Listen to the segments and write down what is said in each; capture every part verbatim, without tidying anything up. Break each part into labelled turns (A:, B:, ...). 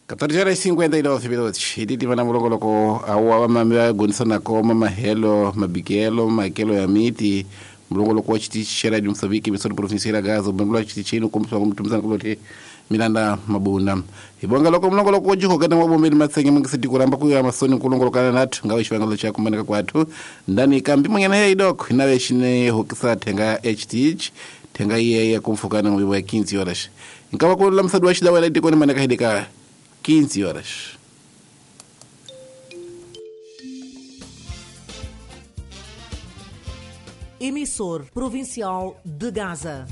A: catorze horas e cinquenta e nove minutos. Hititi vana mulongoloko awa vamami va gonisana koma mahelo mabikelo makelo ya miti mulongoloko wa xitichi xa Radio Moçambique emissora provincial ya Gaza ubembula wa xitichini kombisiwa ku mitumisana kuloti Milanda Mabuna. Hi bonga loko mulongoloko wo jihokana wa bombeni matsenge mungisi tikuramba kuya masoni kulongolokana nathu ngawe xivangelo xa kumaneka kwathu ndani kambi munyana ya idoko inawe xine hokisa thenga H T H thenga iye ya kumfukana ngwiwa quinze horas. Nkava ku lamisadiwa xidawela etikweni maneka hidika quinze horas.
B: Emissor Provincial de Gaza.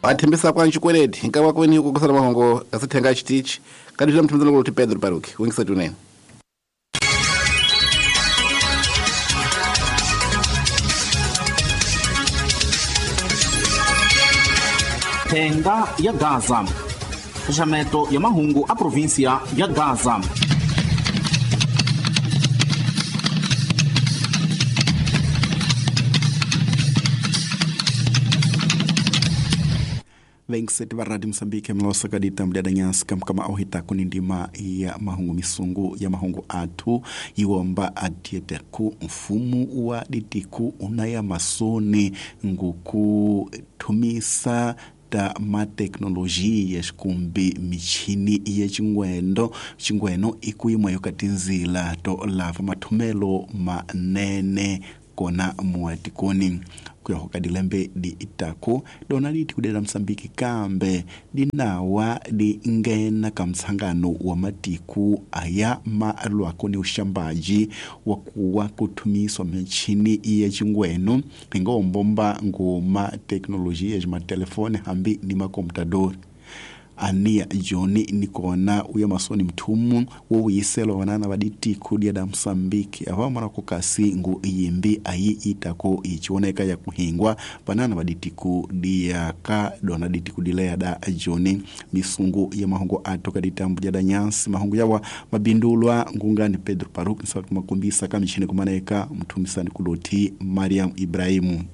A: Athembisa kwa nxikweleti nkava kweni ku kusala mahongo asithenga xitichi kadila mthemzana ku Pedro Paruki wingisa tunene.
C: Thenga ya Gaza. Xaxameto ya mahungu a província ya Gaza.
D: Vengiseti va Radio Moçambique mlosa kadita mdadanyasi kamkama auhita kunindima ya mahungu misungu ya mahungu athu iwomba adieteku mfumu wa ditiku unaya masoni nguku thumisa ta mateknolojia xikumbi michini ya xingwendo xingweno ikuyimwa yo katinzila to lava mathumelo manene kona muatikoni kuya hoka dilembe di itako dona di tikudela Msambiki kambe dinawa di ngena kamtsangano wa matiku aya malwako ni ushambaji wa kuwa kutumiswa michini ya chingweno ingombomba ngoma teknolojia ya matelefone hambi ni makomputador. Ania Joni nikona uya masoni mtumu wo uyiselwa wanana baditi kudia da Msambiki ava mara kukasi ngu iyimbi ayi itako ichioneka ya kuhingwa banana baditi kudia ka dona diti kudilea da Joni misungu ya mahungu atoka ditambu ya da nyansi mahungu yawa mabindulwa ngungani Pedro Paruk nsaka makumbisa kamichini kumaneka mtumisani kuloti Mariam Ibrahimu.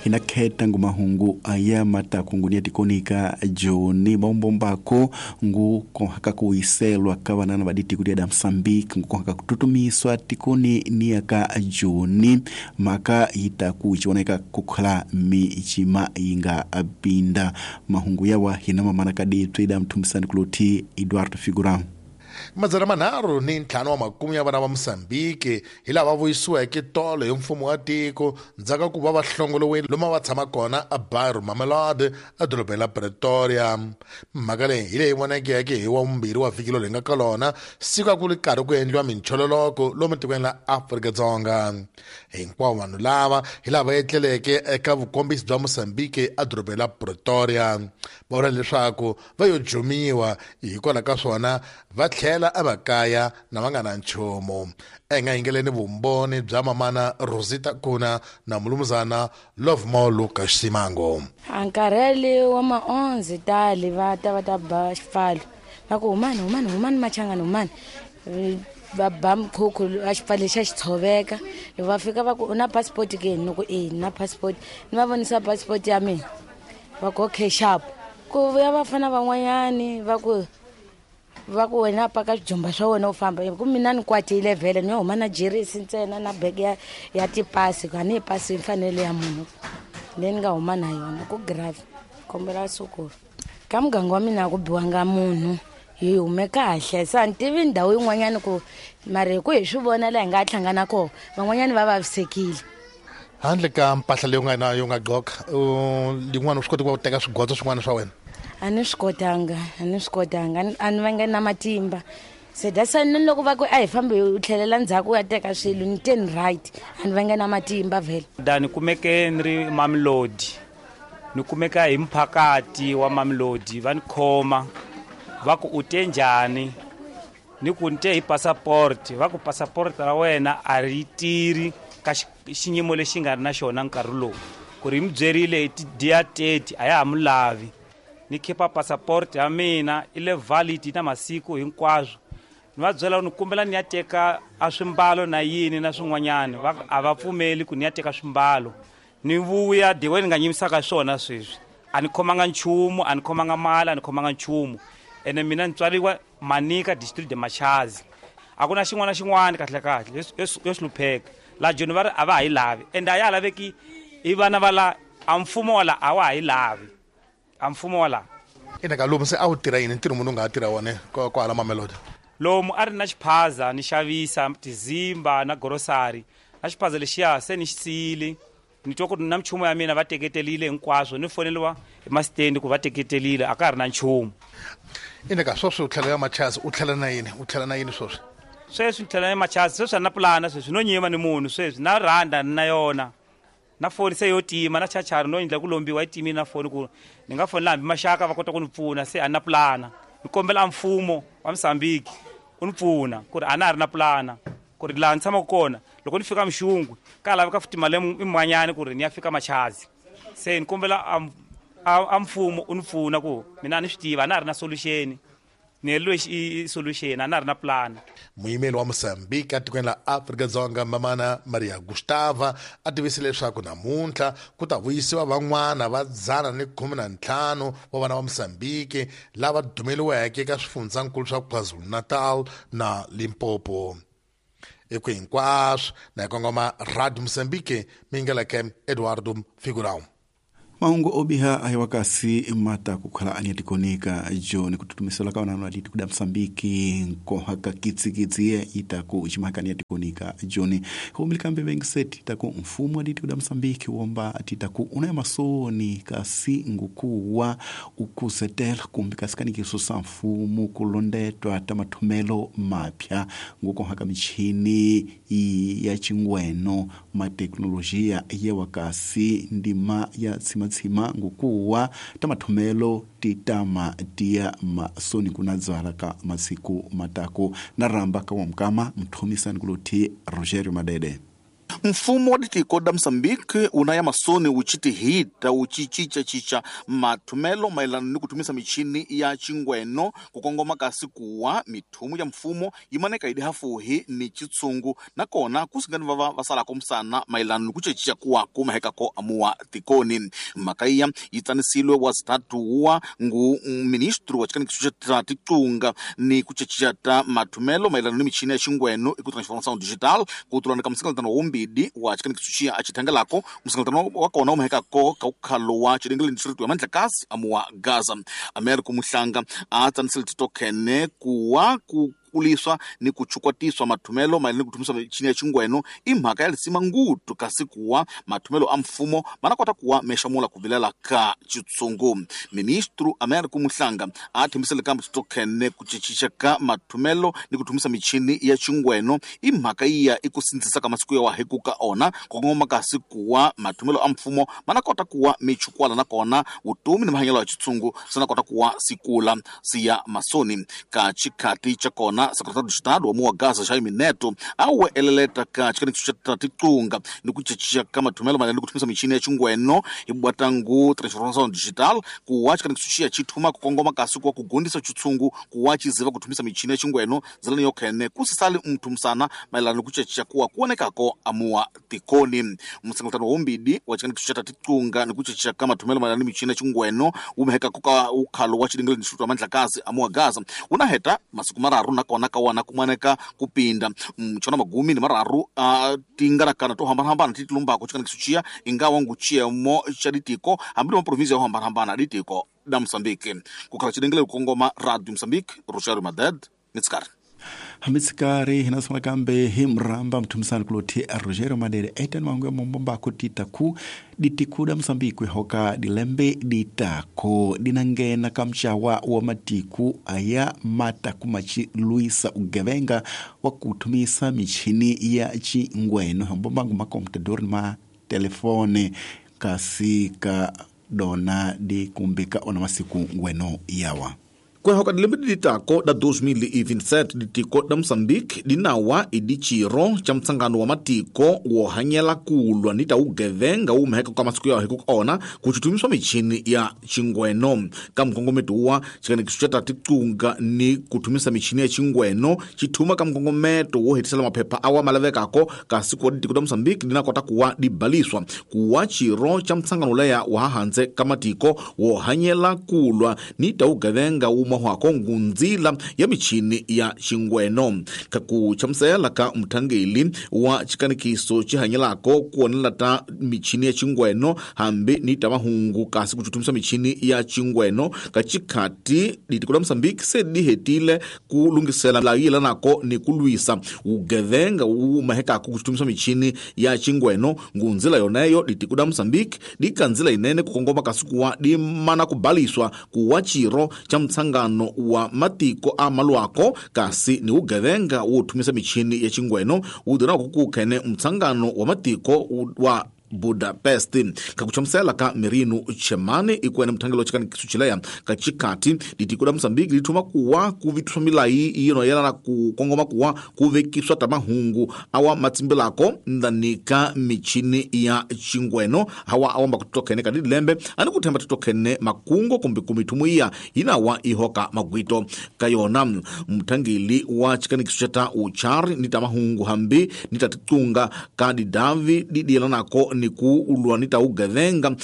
D: Inakheta ngumahungu aya matakungunia tikonika Joni bombombako ngu kohaka kuiselwa kawanana baditi kudia da Msambiki ngu kohaka kututumiswa tikoni niaka Joni maka itaku ichioneka kukhala michima inga abinda mahungu yawa hinama manakadi twida mtumisani kuloti Eduardo Figurão.
E: Madzana manharhu ni ntlhanu wa makume ya vana va Mozambique hi lava vuyisiweke tolo hi mfumo wa tiko ndzhaku ku va va hlongoliwile lomu va tshama kona a Bairro Mamelodi edorobeni la Pretoria. Mhaka leyi hi leyi vonakeke hi wa vumbirhi wa vhiki lowu hi nga ka lona siku a ku ri karhi ku endliwa minchololoko lomu tikweni la Afrika-Dzonga. Hinkwavo vanhu lava hi lava etleleke eka vukombisi bya Mozambique edorobeni la Pretoria va vula leswaku va yo jumiwa hikwalaho ka swona va tlhela emakaya na va nga na nchumu. Enga yingeleni vumbhoni bya mamana Rosita Kuna na mulumuzana Lovemore Lucas Simango.
F: Nkarhi wa maonzi tali va ta va ta ba xipfalo va ku humani humani humani machangani humani va ba mkhukhu a xipfalo xa xi tshoveka loko va fika va ku u na passport ke ni ku e na passport ni va vonisa passport ya mina va ku okay sharp ku vuya vafana van'wanyani va ku va ku wena paka swijumba swa wena u famba ku mina ni kwatile vhele ni yo huma na jeresi ntsena na bege ya, ya tipasi ku a ni yi pasi mfanelo ya munhu leyi ni nga huma na yona ku grave kombela sukulu ka muganga wa mina a ku biwanga munhu hi hume kahle se a ni tivi ndhawu yin'wanyani ku mara hi ku hi swi vona laha hi nga hlangana kona van'wanyani va vavisekile.
E: Handle ka mpahla leyi u nga na yo nga gqoka yin'wana u swi koti ku va u teka swigodzo swin'wana swa wena?
F: A ni swi kotanga a ni swi kotanga a ni vange na matimba se that's why ni loko va ku a hi fambi u tlhelela ndzhaku u ya teka swilo ni te ni right a ni vange na matimba vhele.
G: Da ni kumeke ni ri Mamelodi ni kumeka hi mphakati wa Mamelodi va ni khoma va ku u te njhani ni ku ni te hi passport va ku passport ra wena a ri tirhi ka xiyimo lexi nga ri na xona nkarhi lowu ku ri mi byerile hi ti-dia thirty a ya ha mu lavi ni khipa passport ya mina i le valid na masiku hinkwaswo Ni va byela ni kombela ni ya teka a swimbalo na yini na swin'wanyana, va a va pfumeli ku ni ya teka swimbalo. Ni vuya diwe ni nga nyimisaka swona sweswi. A ni khomanga nchumu, a ni khomanga mali, a ni khomanga nchumu. Ene mina ni tswariwa Manica district de Machazi. A ku na xin'wana na xin'wana kahle kahle yo hlupheka. La Joni va ri a va ha yi lavi, ende a ya ha laveki i vana va la a mfumo wa la a wa ha yi lavi. A mfumo wa la.
E: Ina ka lomu se a wu tirha yini ntirho munhu u nga ha tirha wona kwala Mamelodi?
G: Lomu a ri na xiphaza ni xavisa tizimba na grocery. Na xiphaza lexiya se ni xi siyile. Ni twa ku na minchumu ya mina va teketelile hinkwaswo, ni foneliwa hi masitendi ku va teketelile, a ka ha ri na nchumu.
E: Ina ka sweswi u tlhela ya Machazi, u tlhela na yini? U tlhela na yini sweswi?
G: Sweswi ni tlhela na Machazi, sweswi a ni na pulana sweswi, no nyima ni munhu sweswi, na rhanda ni na yona. Na foni se yo tima, na chachari no endla ku lombiwa yi timile na foni ku ni nga fonela hambi maxaka va kota ku ni pfuna, se a ni na pulana. Ni kombela mfumo wa Mozambique u ni pfuna ku ri a na ha ri na pulana, ku ri laha ni tshamaka kona loko ni fika Mxungwe ka laveka futhi mali yin'wanyana ku ri ni ya fika Machazi. Se ni kombela a mfumo u ni pfuna ku mina a ni swi tiva, a na ha ri na solution. Ni heleriwe i solution, a na ha ri na plan.
E: Muyimeri wa Mozambique etikweni la Afrika-Dzonga Mamana Maria Gustava a tivise leswaku namuntlha ku ta vuyisiwa van'wana va dzana ni khume na ntlhanu wa vana va Mozambique lava dumeliweke eka swifundzankulu swa KwaZulu-Natal na Limpopo. Eku hinkwaswo na hi kongoma Radio Mozambique mingeleke Eduardo Figurão.
D: Mahungu obiha ayiwa kasi mata kukhala ani atikonika John kututumisela ka wananu aditi kuda Msambiki nkohaka kitsikitsi ye itaku chimahakani atikonika John humilikambe bengiseti itaku mfumo aditi kuda Msambiki womba atitaku unaya masoni kasi ngukuwa ukuzetela kumbi kasikani kisusa mfumo kulondetwa tamathumelo mapya ngukohaka michini ya chingweno mateknolojia yewa kasi ndima ya matsima ngukuwa tamathumelo titama tia masoni kunadzala ka masiku matako na ramba ka wamkama mthumisani kuluthi Rogerio Madede.
C: Mfumo wa ditiko da Mozambique unaya masoni uchitihita uchichicha-chicha mathumelo maelano ni kuthumisa michini ya chingweno kukongoma kasi kuwa mithumu ya mfumo yimaneka idi hafuhi ni chitsungu nakona kusingani vava vasalako msana maelano ni kuchechicha kuwa kumahekako amuwa tikoni. Mhaka iya yitsanisilwe wa zitatu wa ngu ministru wa chikanikiso cha titunga ni kuchechicha ta mathumelo maelano ni michini ya chingweno iku transformação digital kutulana ka msingalantano wumbi wa chikanikiso achithangelako msingalantano wakona umahekako kaukhalo wa chilengele district ya Mandlakazi amuwa Gaza. Americo Muhlanga atsanisile titokhene kuwa ku kuliswa ni kuchukwatiswa mathumelo maelano ni kuthumisa michini ya chingweno imhaka ya lisima ngutu kasi kuwa mathumelo a mfumo manakota kuwa mexamula kuvilela ka chitsungu. Ministru Americo Muhlanga a thembisile kambe titokhene ku chichicha ka mathumelo ni kuthumisa michini ya chingweno imhaka iya i ku sindzisa ka masiku ya waheku ka ona kukongoma kasi kuwa mathumelo a mfumo manakota kuwa michukwala nakona vutomi ni mahanyelo ya chitsungu sinakota kuwa sikula siya masoni ka chikhati cha kona Secretário de Estado wa Mua Gaza Jaime Neto awe eleleta ka chikanikiso cha titunga ni kuchechicha ka mathumelo maelano ni kuthumisa michini ya chingweno ibwatangu transformação digital kuwa chikanikiso chiya chithuma kukongoma kasi kuwa kugundisa chitsungu kuwa chiziva kuthumisa michini ya chingweno zilani yokhene kusisali mthu msana maelano ni kuchechicha kuwa kuonekako amuwa tikoni. Msangotano wombidi wa chikanikiso cha titunga ni kuchechicha ka mathumelo maelano ni michini ya chingweno umehekako ka ukhalo wa chilengele district wa Mandlakazi amuwa Gaza unaheta masiku mararu na kona kawana kumaneka kupinda mchona magumi ni mararu uh, tingarakana to hambana-hambana titilumbako chikanikiso chiya ingawa nguchiyemo cha ditiko hambili ma província yo hambana-hambana ditiko da Mozambique. Kukhala chilengele kukongoma Radio Mozambique, Rogerio Maded, Mitskari.
D: Hamitsikari hinasoma kambe himramba mthumisani kulothi Rogerio Madede etani mangu ya mombombako titaku ditiku da Mozambique hoka dilembe ditako dinangena kamchawa wa matiku aya mata kumachi luisa ugevenga wa kuthumisa michini ya chingweno hombombangu makomputador ma telefone kasi ka dona di kumbika ona masiku ngweno yawa.
C: Kuyahoka dilembe dilitako da dois mil e vinte e sete ditiko da Moçambique dinawa idichiro cha mtsangano wa matiko wohanyela kulwa nita ugevenga umeheka kwa masiku yao hiku ona kuchitumiswa michini ya chingweno ka mkongometo wa chikanikiso cha tatikunga ni kutumisa michini ya chingweno chituma ka mkongometo wo hetisela maphepha awa malavekako kasi kuwa ditiko da Moçambique dinakota kuwa dibaliswa kuwa chiro cha mtsangano leya wahahanze kamatiko wohanyela kulwa nita ugevenga umahwako ngunzila ya michini ya chingweno kakuchamsela ka mthangeli wa chikanikiso chihanyelako kuonela ta michini ya chingweno hambi ni tamahungu kasi kuchutumisa michini ya chingweno kachikhati ditiko la Moçambique se dihetile kulungisela layila nako ni kulwisa ugevenga umahekako kuchutumisa michini ya chingweno ngunzila yoneyo ditiko la Moçambique dikanzila inene kukongoma kasi kuwa dimana kubaliswa kuwa chiro cha mtsangano wa matiko a malwako kasi ni ugevenga wothumisa michini ya chingweno udira kukukhene mtsangano wa matiko wa Budapest kakuchamsela ka Merino Chemane ikwene mthangelo chikanikiso chileya kachikati ditiko la Moçambique lithuma kuwa kuvithuswa milayi ino yelana kukongoma kuwa kuvekiswa tamahungu awa matsimbelako ndanika michini ya chingweno hawa awamba kutokhene kadilembe ani kuthemba titokhene makungo kumbe kumithumu iya inawa ihoka magwito kayona mthangeli wa chikanikiso chata uchari ni tamahungu hambi nitatitunga kadidavi didiyelanako ni ku ulwa nita ugevenga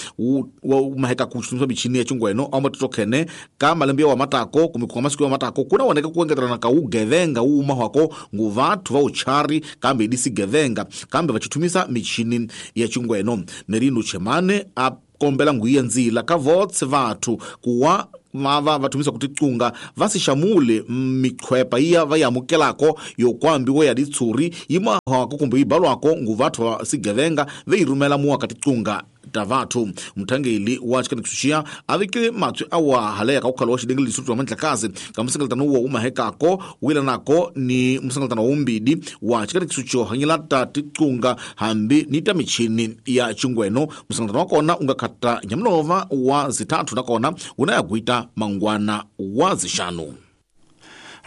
C: umaheka kuchutumisa michini ya chingweno auma titokhene ka malembe wa matako kumikuka masiku ya matako kuna oneka kuengeterana ka ugevenga umahwako ngu vathu va uchari kambe idisigevenga kambe vachitumisa michini ya chingweno Merino Chemane akombela nguiya nzila ka votse vathu kuwa mava vathumisa kuticunga vasixamule mikhwepa iya va yamukelako yokwambiwa ya ditshuri yimahwako kumbe yibalwako ngu vathu va sigevenga veyi rhumela muwaka ticunga ta vathu mthangeli wa chikanikiso a vekile matswi awa haleya ka ukhala wa xidengele lisutu wa mandlakazi ka musengeletano wo umahekako wilanako ni musengeletano wa umbidi wa chikanikiso xo hanyela ta ticunga hambi ni ta michini ya chingweno musengeletano wa kona unga khata nyamulova wa zithathu nakona una ya gwita mangwana wa zixanu.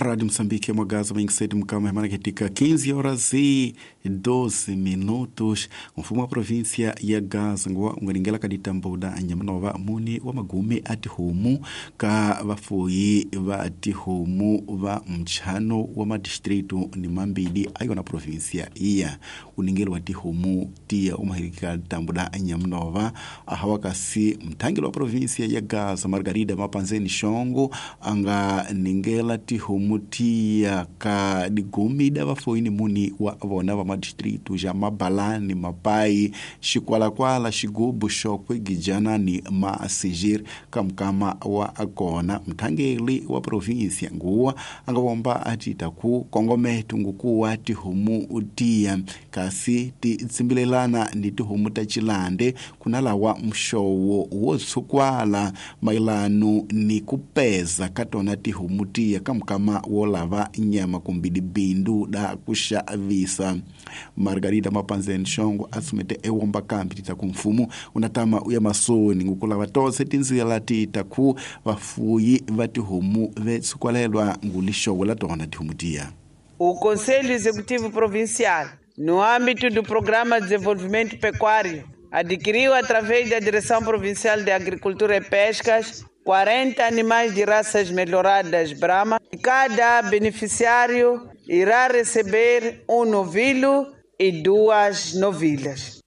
D: Rádio Moçambique, Mogaza, bem cedo, Mukama, Maraquetica, quinze horas e doze minutos. Mfumo wa província ya Gaza, ungaringela kaditambuda anyamanova muni wa magume atihumu ka vafuyi va tihumu va mchano wa madistritu ni mambili ayo na província iya uningelo wa tihumu tia umahirika tambuda anyamanova ahawakasi mthangelo wa província ya Gaza Margarida Mapanzeni Shongo anga ningela tihumu mutia ka digumida vafoini muni wa vona va madistritu ja Mabalani, Mapai, Xikwalakwala, Xigubu, Xokwe, Gijana ni Masigir kamkama wa akona mthangeli wa província nguwa anga vomba atita ku kongometu ngukuwa tihumu utia kasi ti tsimbilelana ni tihumu ta chilande kunalawa mxowo wo tshukwala mailanu ni kupeza katona tihumu tia kamkama wolava nyama kumbidi bindu da kuxavisa. Margarida Mapanzeni Shongo asumete ewomba kambi tita kumfumu unatama uya masoni ngukulava tose tinzila tita ku vafuyi va tihomu vetsukwalelwa ngulixowo la tona tihomu tiya.
H: O Conselho Executivo Provincial, no âmbito do Programa de Desenvolvimento Pecuário, adquiriu através da Direção Provincial de Agricultura e Pescas quarenta animais de raças melhoradas Brahma. Cada beneficiário irá receber um novilho e duas novilhas.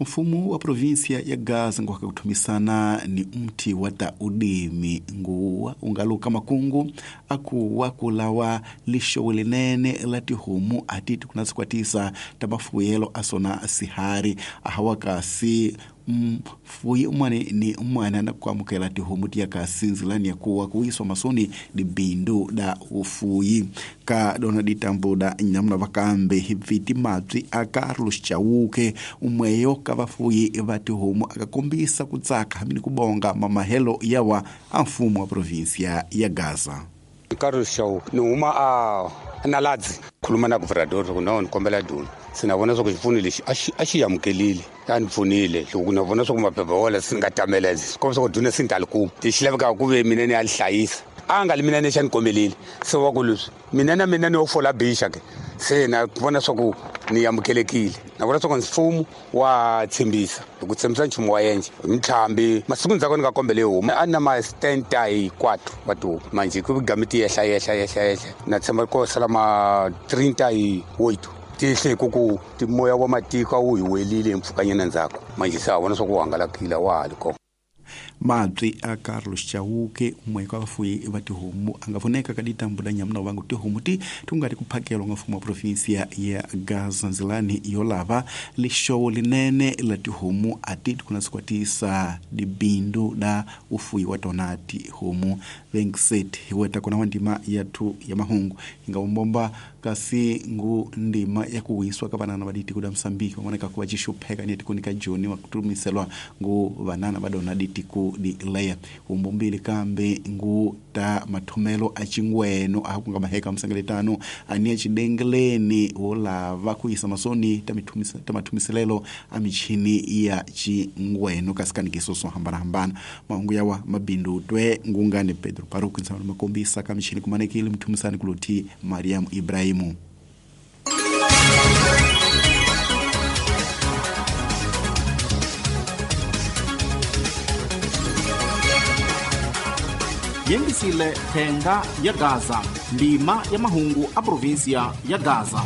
D: Mfumo wa província ya Gaza nguwaka kuthumisana ni mti wa ta udimi nguwa ungaluka makungu akuwa kulawa lixowo linene la tihomu atiti kuna sikwatisa ta mafuyelo asona sihari ahawa kasi mfuyi umwana ni umwana na kuamukela tihomu tiya kasi nzilani ya kuwa kuiswa masoni di bindu da ufuyi ka dona ditambo da nyamna vakambe hiviti matwi a Carlos Chauke umweyo ka vafuyi va tihomu akakombisa kutsaka hamini kubonga mamahelo yawa a mfumo wa província ya Gaza.
I: Carlos Chauke ni huma a Naladzi Khuluma na governador ku no ni kombela duna. Se na vona swa ku xipfuno lexi a xi a xi amukelile. A ni pfunile loko na vona swa ku maphepha wala swi nga tamela swi kombisa ku duna se ni ta li kuma. Lexi lavekaka ku ve mina ni ya li hlayisa. A nga li mina ni xa ni kombelile. Se wa ku leswi mina na mina ni yo fola bixa ke. Se na vona swa ku ni amukelekile. Na vona swa ku mfumo wa tshembisa. Loko tshembisa nchumu wa endla. Mintlhambi masiku ndzhaku ni nga kombele homu a na ma setenta e quatro wa tihomu. Manje ku game ti yehla yehla yehla yehla. Na tshemba ko sala ma trinta e oito. Ti hle ku ku ti moya wa matiko a wu hi welile mpfhukanyana ndzhaku. Manje se a vona swa ku hangalakile wa ha ri kona.
D: Mabyi a Carlos Chauke umwe ka vafuyi va tihomu a nga voneka ka ditambu da nyamuna vangu tihomu ti ti nga ri ku phakelwa nga mfumo wa provinsia ya Gaza ndzilani yo lava lixowo linene la tihomu a ti kuna sikwatisa dibindu da ufuyi wa tona tihomu veintiséis hi weta kona wa ndima ya thu ya mahungu hi nga umbomba kasi ngu ndima ya ku wiswa ka vanana va ditiko da Mosambiki van'wana ku va xixupheka ni tikoni ka Joni wa kutumiselwa ngu vanana va dona ditiko di leya umbombili kambe ngu ta mathomelo a chingweno a ku nga maheka msengeletano ani chidengeleni wo lava ku yisa masoni ta mithumisa ta mathumiselelo a michini ya chingweno kasi kanikiso swo hambana hambana mahungu yawa mabindu twe ngungane Pedro Paruku nsana makombisa ka michini kumanekile mthumisani kuloti Mariam Ibrahimu.
C: Yengisile thenga ya Gaza, ndima ya mahungu a provinsia ya Gaza.